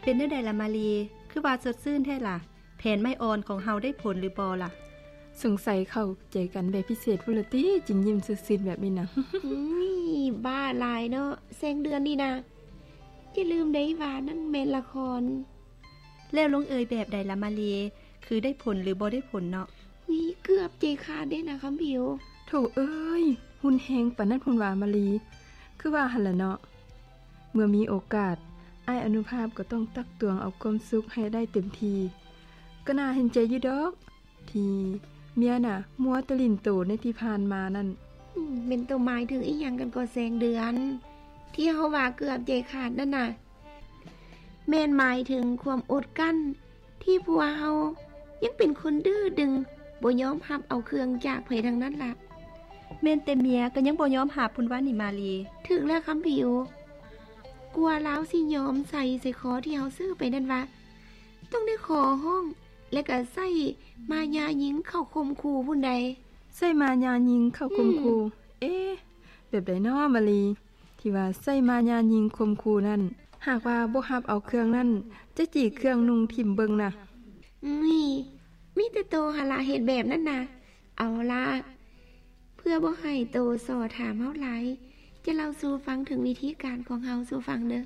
ເປັນແນວໃດລະມາລີ ຄືວ່າສົດຊື່ນແທ້ລະ? ແຜນໄມ້ອ່ອນຂອງເຮົາໄດ້ຜົນຫຼືບໍ່ລະ? ສົງໄສເຂົ້າໃຈກັນແບບພິເສດພຸ້ນລະຕິ ຈຶ່ງຍິ້ມສົດຊື່ນແບບນີ້ນະ. ອຸ້ຍ ບ້າຫຼາຍເນາະ ແສງເດືອນນີ້ນະ. ຢ່າລືມເດ້ວ່ານັ້ນແມ່ນລະຄອນ. ແລ້ວລົງເອີຍແບບໃດລະມາລີ ຄືໄດ້ຜົນຫຼືບໍ່ໄດ້ຜົນເນາະ? ອຸ້ຍ ເກືອບໃຈຂາດເດ້ນະຄຳຜິວ. ໂຖເອີຍ ຮຸນແຮງປານນັ້ນພຸ້ນຫວາມາລີ. ຄືວ່າຫັ້ນລະເນາະ. ເມື່ອມີໂອກາດ ອ້າຍອະນຸພາບກໍຕ້ອງຕັກຕວງເອົາຄວາມສຸກໃຫ້ໄດ້ເຕັມທີ່. ກໍໜ້າເຫັນໃຈຢູ່ດອກ ທີ່ເມຍນະມົວແຕ່ຫຼິ້ນໂຕໃນທີ່ຜ່ານມານັ້ນ. ອືມ ແມ່ນໂຕໝາຍເຖິງອີ່ຫຍັງກັນກໍແສງເດືອນ ທີ່ເຮົາວ່າເກືອບໃຈຂາດນັ້ນນະ? ແມ່ນໝາຍເຖິງຄວາມອົດກັ້ນ ທີ່ຜົວເຮົາຍັງເປັນຄົນດື້ດຶງ ບໍ່ຍອມຮັບເອົາເຄື່ອງຈາກໃຜທັງນັ້ນລະ. ແມ່ນແຕ່ເມຍກໍຍັງບໍ່ຍອມຮັບພຸ້ນຫວານີ້ມາລີ. ຖືກແລ້ວຄຳຜິວ. ກວ່າລາວຊິຍອມໃສ່ສາຍຄໍທີ່ເຮົາຊື້ໄປນັ້ນຫວາ ຕ້ອງໄດ້ຂໍຮ້ອງ ແລະກະໃຊ້ມາຍາຍິງເຂົ້າຂົ່ມຂູ່ພຸ້ນໃດ໋. ໃຊ້ມາຍາຍິງເຂົ້າຂົ່ມຂູ່? ອືມ ເອ ແບບໃດນໍມາລີ ທີ່ວ່າໃຊ້ມາຍາຍິງຂົ່ມຂູ່ນັ້ນ? ຫາກວ່າບໍ່ຮັບເອົາເຄື່ອງນັ້ນ ຈະຈີກເຄື່ອງນຸ່ງຖິ້ມເບິ່ງນະ. ອຸ້ຍ ມີແຕ່ໂຕຫັ້ນລະເຮັດແບບນັ້ນນະ. ເອົາລະ ເພື່ອບໍ່ໃຫ້ໂຕສໍ້ຖາມເຮົາຫຼາຍ ຈະເລົ່າສູ່ຟັງເຖິງວິທີການຂອງເຮົາສູ່ຟັງເດີ້.